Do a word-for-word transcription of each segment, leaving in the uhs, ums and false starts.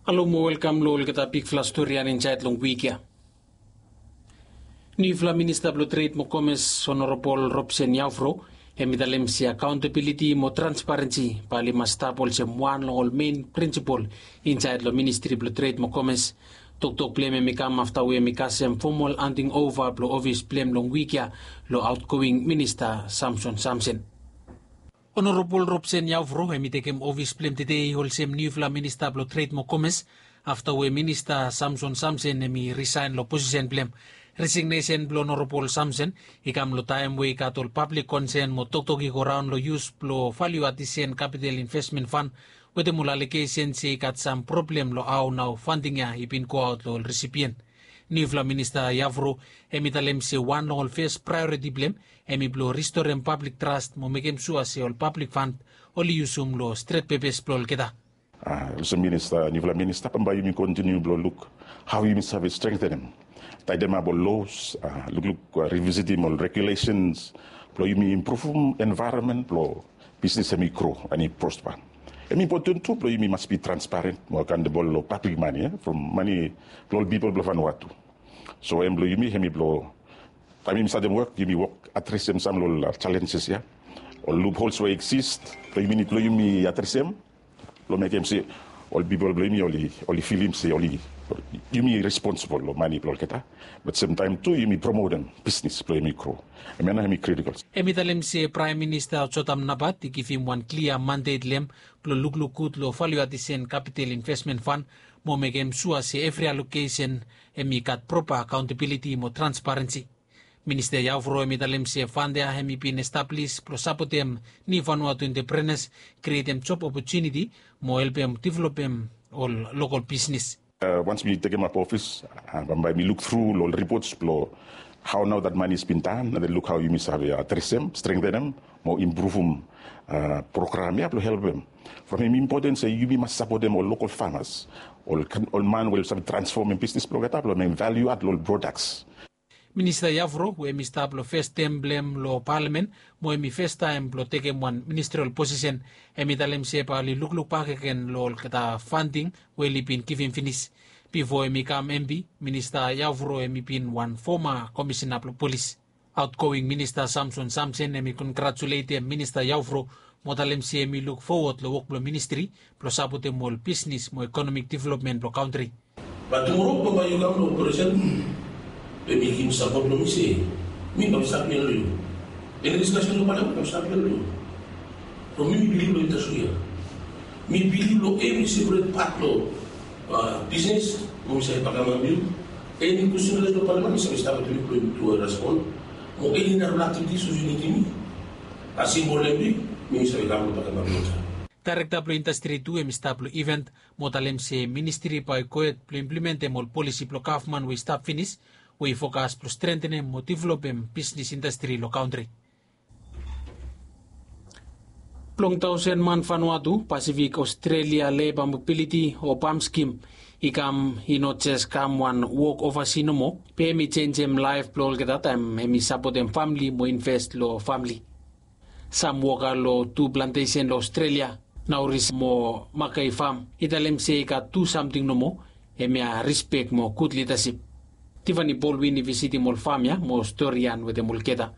Halo mo welkam long olgeta bigfala stori ya insaed long wik ya. Niufala minista blong tred mo komes, Honorabol Robson Yaufro, hem i talem se akaontabiliti mo transparensi bae oli mas stap olsem wan long ol men prinsipol insaed long ministri blong tred mo komes. Toktok blong hem hem i kam afta we hem i kasem fomol handing ova blong ofis blong hem long wik ya long aotgoing minista Samson Samsen. Honorabol Robson Yaufro hem i tekem ofis blong hem tede olsem niufala minista blong tred mo komes, afta we minista Samson Samsen hem i risaen long posisen blong hem. Resignesen blong Honorabol Samson i kam long taem we i gat ol pablik konsen mo toktok i goraon long yus blong Value Addition Capital Investment Fund wetem ol alegesen se i gat sam problem long hao nao fanding ya i bin goaot long ol risipien. Niufala minista Yaufro hem i talem se wan long ol fes praeoriti blong hem hem i blong ristorem pablik tras mo mekem sua se ol pablik fan oli yusum long stret pepes blong olgeta. Olsem minista, niufala minista, bambae yumi kontiniu blong luk hao yumi save strengtenem, taedemap ol los, lukluk, rivisitim ol regulesens blong yumi impruvum envaeronmen blong bisnis hem i gro and i prospa. Hem i impoten tu blong yumi mas bi transparen mo akaontabol long pablik mane, from mane blong ol pipol blong Vanuatu. So hem blong yumi hem i blong, taem yumi statem wok, yumi wok adresem sam long ol jalenjes ya, ol luphols we i eksis, blong yumi nid blong yumi adresem blong mekem se ol pipol blong yumi oli, oli filim se oli, yumi responsibol long mane blong olgeta. Bat semtaem tu yumi promotem bisnis blong yumi gro. Hemia nao hem i kritikol. Hem i talem se Praem Minista Jotham Napat i givim wan klia mandet long hem blong lukluk gud long Value Addition Capital Investment Fund mo mekem sua se evri alokesen hem i gat propa akaontabiliti mo transparensi. Minista Yaufro hem i talem se fand ya hem i bin establis blong sapotem niu Vanuatu enteprenas, krietem job opotuniti mo helpem developem ol lokol bisnis. Wans mi tekemap ofis, bambae mi luk tru long ol ripots blong hao nao dat mane i bin tan, and then luk hao yumi save adresem, strengtenem mo impruvum program ya blong helpem. From hem i impoten se yumi mas sapotem ol lokol famas, ol man we oli save transfomem bisnis blong olgeta blong mekem valiu ad long ol prodaks. Minista Yaufro we hem i stap long fes tem blong hem long palamen mo hem i festaem blong tekem wan ministrol posisen, hem i talem se bae oli lukluk bakegen long olgeta fanding we oli bin givim finis. Bifo hem i kam MP, Minista Yaufro hem i bin wan foma komisena blong polis. Aotgoing Minista Samson Samsen hem i kongratuletem Minista Yaufro mo talem se hem i luk fowod long wok blong ministri blong sapotem ol bisnis mo ekonomik developmen blong kantri. Bat tumoro bambae yu kam long operesen blong mekem sapot blong mi se mi kam stap ia long yu. Eni diskasen long palamen kam stap ia long yu. From mi mi bilif long indastri ya. Mi bilif long evri seperet pat long bisnis mo mi save bakamap yu. Eni kwestin long palamen mi save stap wetem yu blong yu respon. Mo eni narafala aktivitis we yu nidim mi, as simbol blong mi, mi save kam long bakamap yu. Daerekta blong indastri tu hem i stap long iven mo talem se ministri bae i gohed blong implimentem ol polisi blong gavman we i stap finis we i fokas blong strentenem mo developem bisnis indastri long kantri. Blong taosen man Vanuatu, Pasifik Australia Leba Mobiliti o PALM skim i kam, i no jes kam wan wok ovasi nomo, be hem i jenjem laef blong olgeta taem hem i sapotem famle mo inves long famle. Sam woka long tu plantesen long Australia, Nauris mo Mackay Farm, i talem se i gat tu samting nomo, hemia rispek mo gud lidasip. Tiffany Baldwin i visitim ol fam ya mo storian wetem olgeta.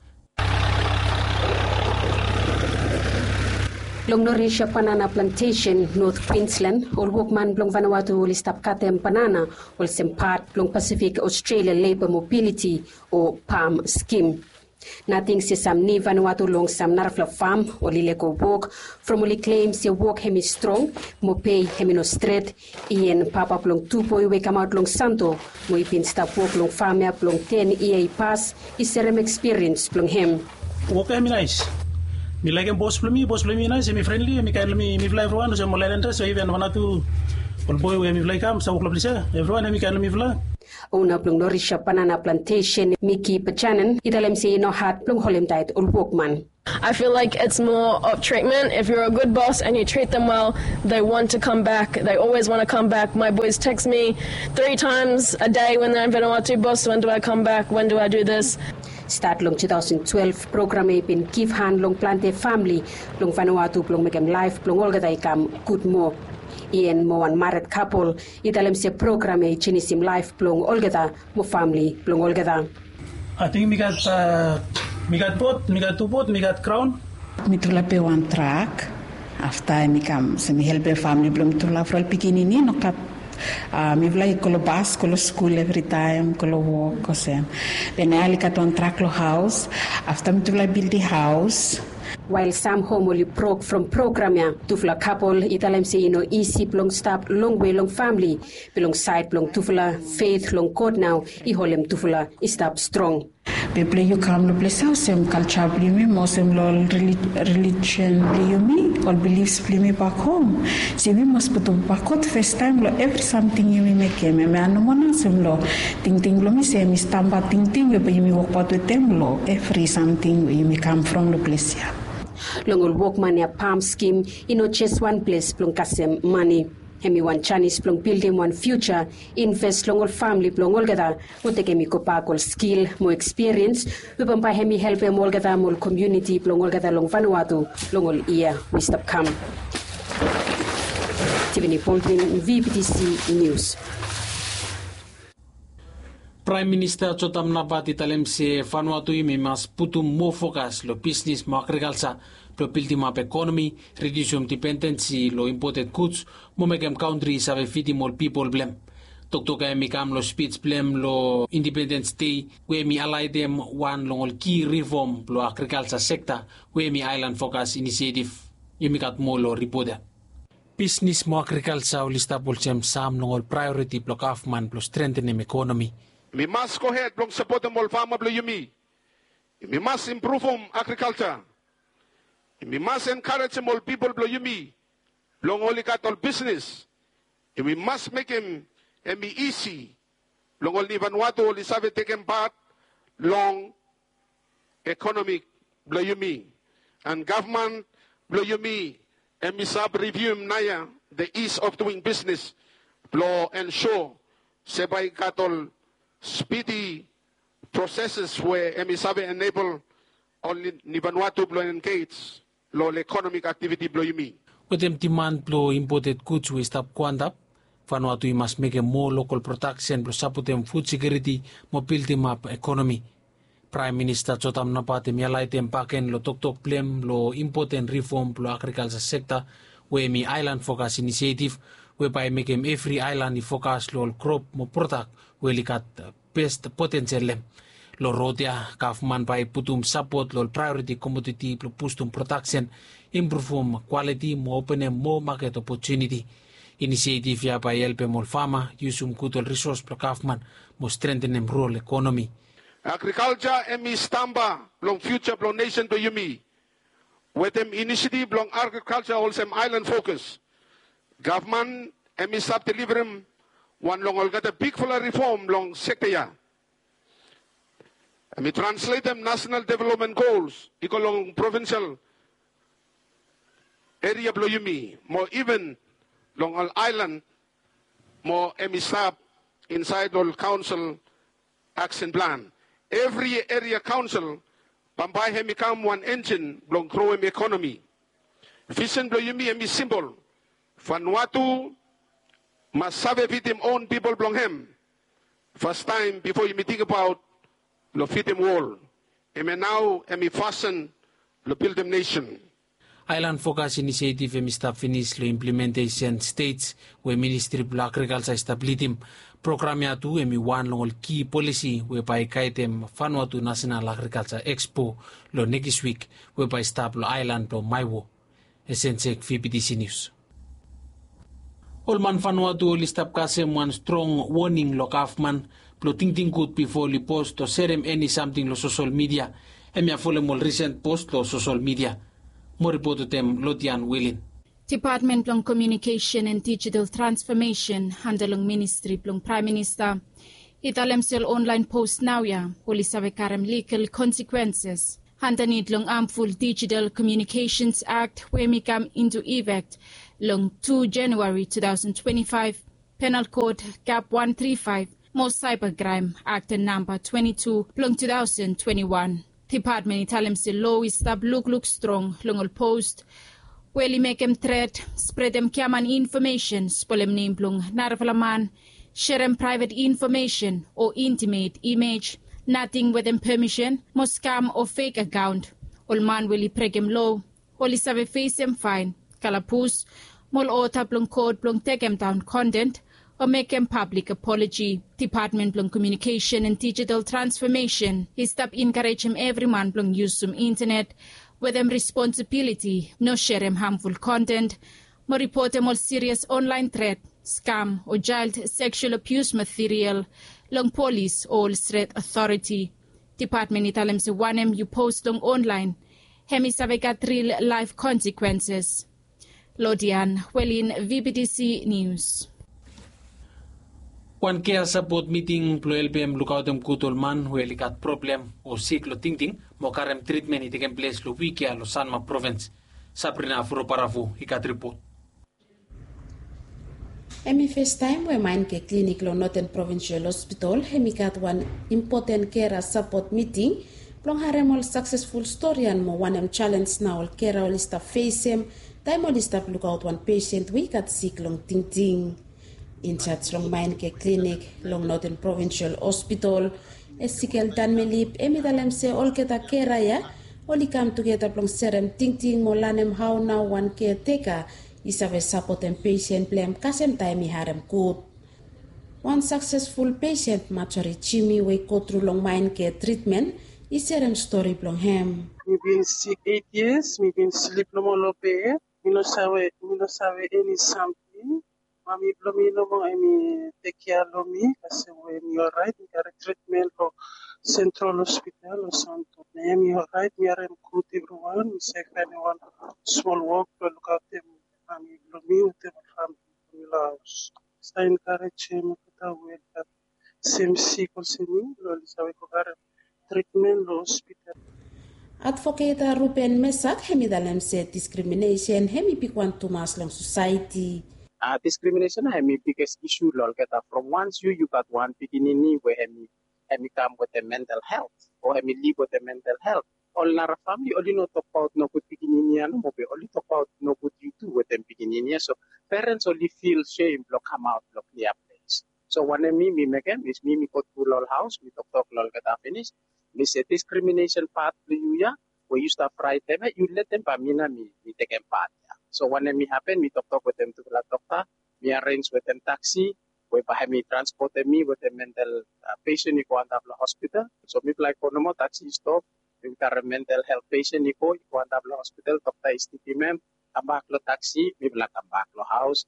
Long Norisha Banana Plantation, North Queensland, ol wokman blong Vanuatu oli stap katem banana olsem pat blong Pacific Australia Labour Mobility o PALM skim. Nating se sam ni Vanuatu long sam narafala fam oli lego wok from oli klem se wok hem i strong mo pei hem i no stret. Ian, papa blong tu boe we i kamaot long Santo, mo i bin stap wok long fam ya blong ten yia i pas, i serem ekspiriens blong hem. Wok ya hem i naes. Mi laekem bos blong mi, bos blong mi i naes, hem i frenli, hem i kaen long mi, mifala evriwan olsem ol aelandas o iven Vanuatu, ol boe we mifala i kam stap wok long ples ya, evriwan hem i kaen long mifala. Ona blong Norisha Banana Plantation, Miki Bajanen, i talem se i no had blong holem taet ol wokman. I feel like it's more of treatment. If you're a good boss and you treat them well, they want to come back. They always want to come back. My boys text me three times a day when they're in Vanuatu, "Boss, when do I come back? When do I do this?" Stat long two thousand twelve, program ya i bin givhan long plante famle long Vanuatu blong mekem laef blong olgeta i kam gud moa. Ian mo wan mared kapol i talem se program ya i jenisim laef blong olgeta mo famili blong olgeta. Ating mi gat mi gat bot, mi gat tu bot, mi gat graon. Mitufala pe wan trak. Afta em i kam se mi helpem famili blong mitufala from pikinini no gat. Mifala i go long bas, go long skul evritaem, go long wok olsem. Be nao oli gat wan trak long haos. Afta mitufala i bildim haos. Wael sam hom oli brok from program ya, tufala kapol i talem se i no isi blong stap longwe long famili. Be long saed blong tufala, fet long God nao i holem tufala i stap strong. Be blong yu kam long ples ya olsem kalja blong yumi mo olsem long ol relijion blong yumi, ol bilifs blong yumi bak hom. So yumi mas putum bak God fastaem long evri samting yumi mekem. Hemia nomo nao olsem long tingting blong mi se yumi stamba tingting we bae yumi wokbaot wetem long evri samting we yumi kam from long ples ya. Long ol wokman ya, pam skim i no jes wan ples blong kasem mane. Hem i wan janis blong bildim wan fiuja, inves long ol famili blong olgeta, mo tekem i gobak ol skil mo ekspiriens we bambae hem i helpem olgeta mo ol komuniti blong olgeta long Vanuatu long ol yia we i stap kam. Tivini Baldwin, V B T C News. Praem Minista Jotam Napat i talem se Vanuatu yumi mas putum moa fokas long bisnis mo agrikalja blong bildimap ekonomi, ridiusim dipendensi long impoted guds mo mekem kantri i save fidim ol pipol blong hem. Toktok ya hem i kam long spij blong hem long Indipendens Dei we hem i aelaetem wan long ol ki rifom blong agrikalja sekta we hem i Aelan Fokas Inisietif. Yumi gat moa long ripot ya. Bisnis mo agrikalja oli stap olsem sam long ol praeoriti blong gavman blong strengtenem ekonomi. Yumi mas gohed blong sapotem ol fama blong yumi. Yumi mas impruvum agrikalja. Yumi mas enkarejem ol pipol blong yumi blong oli gat ol bisnis. Yumi mas mekem hem i isi blong ol Nivanuatu oli save tekem pat long ekonomi blong yumi. An gavman blong yumi hem i save rivium naoia the ease of doing business blong ensua se bae i gat ol spidi proseses we hem i save enebol ol Nivanuatu blong engej long ol ekonomik aktiviti blong yumi. Wetem diman blong impoted guds we i stap go antap, Vanuatu i mas mekem moa lokol prodaksen blong sapotem fud sekiuriti mo bildimap ekonomi. Praem Minista Jotam Napat hem i aelaetem bakegen long toktok blong hem long impoten rifom blong agrikalja sekta we hem i Aelan Fokas Inisietif, we bae i mekem evri aelan i fokas long ol krop mo prodak we oli gat bes potensel long hem. Long rod ya, gavman bae i putum sapot long ol praeoriti komoditi blong bustum prodaksen, impruvum kwaliti mo openem moa maket opotuniti. Inisietif ya bae i helpem ol fama yusum gud ol risos blong gavman mo strengtenem rural ekonomi. Agrikalja hem i stamba blong fiuja blong nesen blong yumi. Wetem inisiativ blong agrikalja olsem Aelan Fokas, gavman hem i stap deliverem wan long olgeta bigfala rifom long sekta ya. Hem i transletem nasonal developmen gols i go long provinsel eria blong yumi mo iven long ol aelan mo hem i stap insaed long ol kaonsel aksen plan. Evri eria kaonsel bambae hem i kam wan enjin blong growem ekonomi. Visen blong yumi hem i simpol. Vanuatu mas save fidim own pipol blong hem fastaem bifo yumi tingbaot long fidim wol. Hemia nao hem i fasin long bildim nesen. Aelan Fokas Inisietiv hem i stap finis long implementesen stets we Ministri blong Agrikalja i stap lidim. Program ya tu hem i wan long ol ki polisi we bae i gaedem Vanuatu Nasonal Agrikalja Ekspo long nekis wik we bae i stap long aelan blong Maewo. Esensek, V B T C Nius. Ol man Vanuatu oli stap kasem wan strong woning long gavman blong tingting gud bifo oli post o serem eni samting long sosol midia. Hemia folem ol risen post long sosol midia. Moa ripot wetem Lodian Wilin. Depatmen blong Komiunikesen an Dijital Transfomesen anda long Ministri blong Praem Minista i talem se ol onlaen post naoia oli save karem ligal konsekwenses andanit long Harmful Digital Communications Act we hem i kam into effect long tu Januari two thousand twenty-five, Penal Code Cap one three five mo Cybercrime Act namba twenty-two blong two thousand twenty-one. Depatmen i talem se loa i stap lukluk strong long ol post We oli mekem tret, spretem giaman infomesen, spolem nem blong narafala man, serem praevet infomesen o intimate imej, nating wetem pemisen, mo skam o fek akaon. Ol man we oli brekem loa oli save fesem faen, kalabus, mo ol oda blong kot blong tekemdaon konten o mekem pablik apoloji. Depatmen blong Komiunikesen and Dijital Transfomesen i stap enkarejem evriman blong yusum intenet wetem responsibiliti, no serem hamful konten, mo ripotem ol sirias onlaen tret, skam o jael seksual abius material long polis o ol stet otoriti. Depatmen i talem se wanem yu post long onlaen, hem i save gat ril laef konsekwenses. Lodian Welin, V B T C Nius. Wan kea sapot miting blong helpem lukaotem gud ol man we oli gat problem o sik long tingting mo karem tritmen i tekem ples long wik ya long Sanma provins. Sabrina Furobaravu i gat ripot. Hem i festaem we Maenke Klinik long Noten Provinsial Hospital hem i gat wan impoten kera sapot miting blong harem ol saksesful storian mo wanem jalens nao ol kera oli stap fesem taem oli stap lukaot wan pesen we i gat sik long tingting. Injaj long Maenke Klinik long Noten Provinsial Hospital, Esikel Danmelip, hem i talem se olgeta kera ya oli kam tugeta blong serem tingting mo lanem hao nao wan keateka i save sapotem pesen blong hem kasem taem i harem gud. Wan saksesful pesen, Majori Jimi, we i gotru long Maenke tritmen, i serem stori blong hem. Mi bin sik eit yias, mi bin slip nomo long bed. Mi no save, mi no save eni samting. Mami blong mi nomo hemi tekkea long mi kasem we mi oraet. Mi karem tritmen long Central Hospital long Santo. Na hemi oraet, mi harem gud evriwan. Mi save faenem wan smol wok blong lukaotem mami blong mi wetem ol famili blong mi long haos. Sa enkarejem olgeta we oli gat sem sik olsem mi blong oli save go karem tritmen long hospital. Advoketa Ruben Mesak hem i talem se diskriminesen hem i bigwan tumas long sosaeti. A diskriminesen na hem i biges isu long olgeta from wans yu yu gat wan pikinini we hem i hem i kam wetem mental helt o hem i liv wetem mental helt. Ol nara famili oli no tokbaot nogud pikinini ya nomo be oli tokbaot nogud yu tu wetem pikinini ya. So perens oli fil sem blong kamaot long klia ples. So wanem mi mi mekem is mi mi go tru long ol haos, mi toktok long olgeta finis. Mi se diskriminesen pat blong yu ya we yu stap raetem ya, yu letem bae mi nao mi mi tekem pat ya. So wanem mi hapen, mi toktok wetem tufala dokta, mi arenj wetem taksi we bae hem i transpotem mi wetem mental pesen i go antap long hospital. So mifala i go nomo, taksi i stop, mi karem mental helt pesen i go i go antap long hospital, dokta i stipim hem, kambak long taksi, mifala kambak long haos.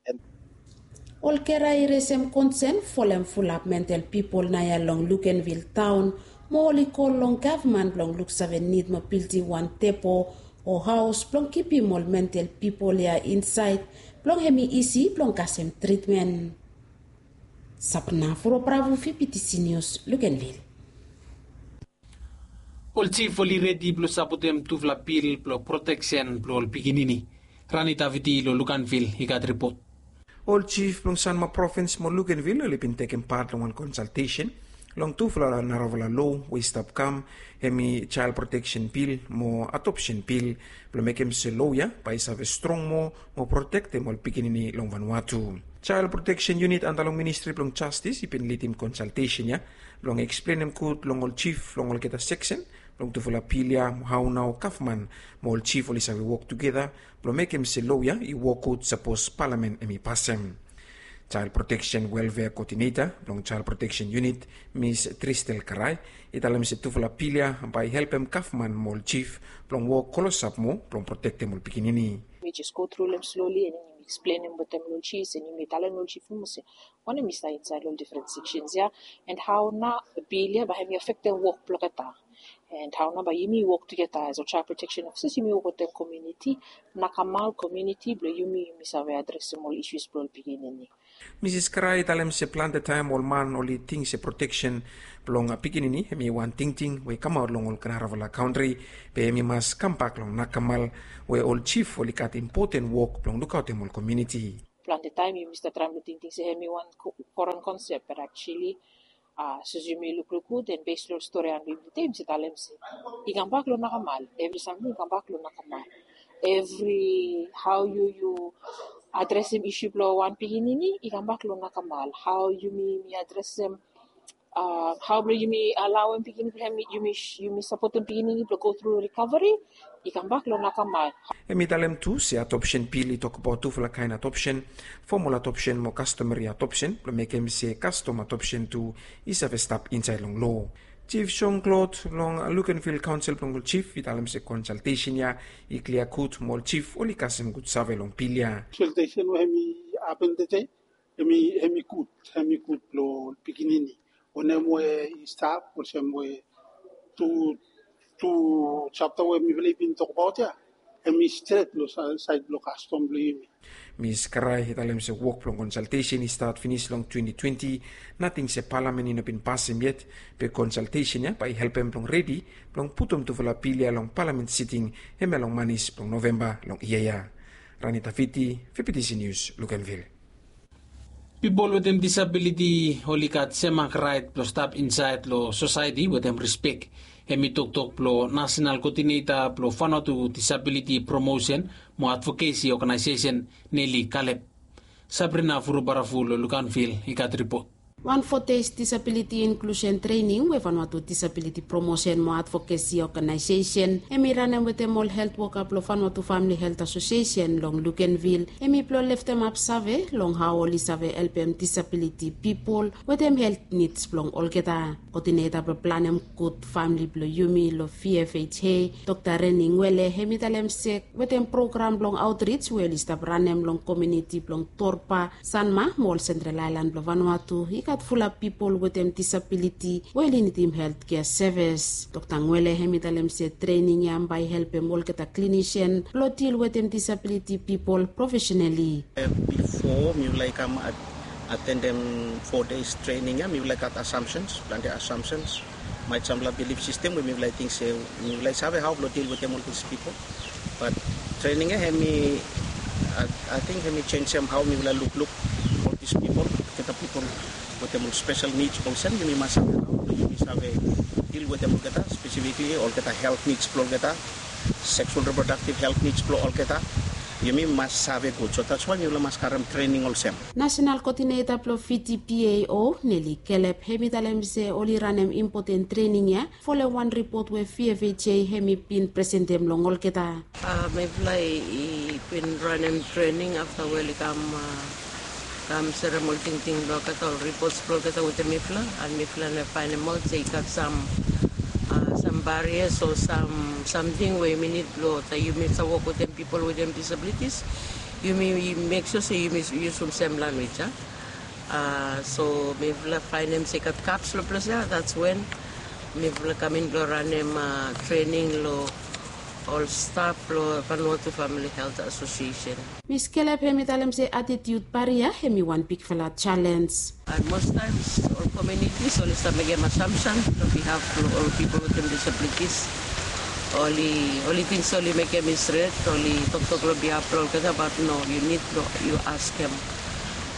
Ol kera i resem konsen folem fulap mental pipol naoia long Luganville taon, mo oli kol long gavman blong luksave nid mo bildim wan depo o haos blong kipim ol mental pipol ya insaed blong hem i isi blong kasem tritmen. Sapna Furo Bravo, V B T C Nius, Luganville. Ol jif oli redi blong sapotem tufala bil blong proteksen blong ol pikinini. Rani Davidi long Luganville i gat ripot. Ol jif blong Sanma provins mo Luganville oli bin tekem pat long wan konsaltesen long tufala narafala loa we i stap kam, hem i jael proteksen bil mo adopsen bil, blong mekem se loa ya bae i save strong moa mo protektem ol pikinini long Vanuatu. Jael proteksen yunit antap long Ministri blong Jastis i bin lidim konsaltesen ya blong eksplenem gud long ol jif long olgeta seksen blong tufala bil ya mo hao nao gavman mo ol jif oli save wok tugeta blong mekem se loa ya i wok gud sapos palamen hem i pasem. Jael proteksen welfea koodineta blong jael proteksen yunit, Mis Tristel Karai, i talem se tufala bil ya bae i helpem gavman mo ol jif blong wok klosap moa blong protektem ol pikinini. Mi jes go tru long hem sloli and yumi eksplenem wetem long ol jif and yumi talem long ol jif nomo se wanem i stap insaed long ol difren seksens ya, and hao nao bil ya bae hem i afektem wok blong olgeta, and hao nao bae yumi wok tugeta as ol jael proteksen ofisas, yumi wok wetem komuniti, nakamal komuniti blong yumi, yumi save adresem ol isus blong ol pikinini. Misis Karai i talem se plante taem ol man oli ting se proteksen blong pikinini hem i wan tingting we i kamaot long ol narafala kantri, be hem i mas kambak long nakamal we ol jif oli gat impoten wok blong lukaotem ol komuniti. Plante taem yumi stap traem blong tingting se hem i wan foren konsep, be aktuali sapos yumi lukluk gud and bes long ol stori we yumi taem se talem se i kambak long nakamal, evri samting i kambak long nakamal. evri hao yu yu adresem isu blong wan pikinini i kambak long nakmal. Hao yumi mi adresem, hao blong yumi alaoem pikinini blong hem, yumi sapotem pikinini blong go tru rikaveri, i kambak long nakmal. Hem i talem tu se adopsen bil i tokbaot tufala kaen adopsen, fomol adopsen mo kastomeri adopsen blong mekem se kastom adopsen tu i save stap insaed long loa. Jif Jon Klod long Lukenvil kaonsel blong ol jif i talem se konsaltesen ya i klia gud mo ol jif oli kasem gud save long bil ya. Konsaltesen we hem i hapen tede, hem i gud, hem i gud blong ol pikinini. Wanem we i stap olsem we tu tu japta we mifala i bin tokbaot ya, hem i stret long saed blong kastom blong yumi. Mis Krai i talem se wok blong konsaltesen i stat finis long twenti twenti. Nating se palamen i no bin pasem yet, be konsaltesen ya bae i helpem blong redi blong putum tufala bil ya long palamen siting, hemia long manis blong Novemba long yia ya. Rani Tafiti, Fipitisi Nius, Lukenvil. Pipol wetem disabiliti oli gat sem mak raet blong stap insaed long sosaeti wetem rispek. Hem i toktok blong nasenal koodineta blong Vanuatu Disabiliti Promosen mo Advokesi Oganaesesen, Neli Kalep. Sabrina Furubarafu long Lukenvil i gat ripot. Wan fo deis disabiliti inklusen trening we Vanuatu Disabiliti Promosen mo Advokesi Oganaesesen hem i ranem wetem ol helt woka blong Vanuatu Famili Helt Asosiesen long Lukenvil hem i blong leftemap save long hao oli save helpem disabiliti pipol wetem helt nids blong olgeta. Koodineta blong planem gud famili blong yumi long V F H A, Dokta Reni Ngwele, hem i talem se wetem program blong aotrij we oli stap ranem long komuniti blong Torba, Sanma mo ol Sentral Aelan blong Vanuatu i gat fulap pipol wetem disabiliti we oli nidim heltkea sevis. Dokta Ngwele hem i talem se trening ya bae i helpem olgeta klinisen blong dil wetem disabiliti pipol profesenali. Bifo mifala i kam atendem fo deis trening ya, mifala i gat asamsens, plante asamsens. Maet samfala bilif sistem we mifala i ting se mifala i save hao blong dil wetem ol dis pipol. Bat trening ya hem i, ating hem i jenisim hao mifala lukluk ol dis pipol, olgeta pipol wetem ol spesel nids olsem, yumi mas save hao blong yumi save dil wetem olgeta, spesifikli olgeta helt nids blong olgeta, seksual reprodaktiv helt nids blong olgeta. Yumi mas save gud, so datswae mifala mas karem trening olsem. Nasenal koodineta blong V T P A O, Neli Kelep, hem i talem se oli ranem impoten trening ya folem wan ripot we V F H A hem i bin presentem long olgeta. Mifala i bin ranem trening afta we oli kam kam serem ol tingting blong olgeta, ol ripots blong olgeta wetem mifala, and mifala nao faenem aot se i gat sam sam barias o sam samting we yumi nid blong, yumi save wok wetem pipol wetem disabilitis. Yumi mek sua se yumi yusum sem lanwis ya. So mifala faenem se i gat gaps long ples ya, dats wen mifala kam in blong ranem trening long ol staf blong Vanuatu Famili Helt Asosiesen. Mis Kelep hem i talem se atitiut baria hem i wan bigfala jalenj. And most times ol komunitis oli stap mekem asamsen long bihaf blong ol pipol wetem disabilitis. Oli oli ting se oli mekem i stret, oli toktok long bihaf blong olgeta, bat no, yu nid blong yu askem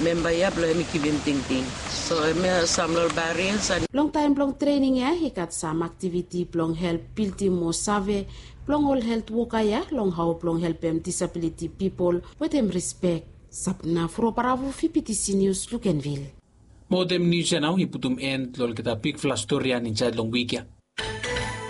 memba ya blong hem i givim tingting. So hemia sam long ol barias. Longtaem blong trening ya i gat sam aktiviti blong help bildim moa save blong ol helt woka ya long hao blong helpem disabiliti pipol wetem rispek. Sabna Furobaravu, Fipitisi Nius, Lukenvil. Mo wetem nius ya nao i putum en long olgeta bigfala stori ya insaed long wik ya.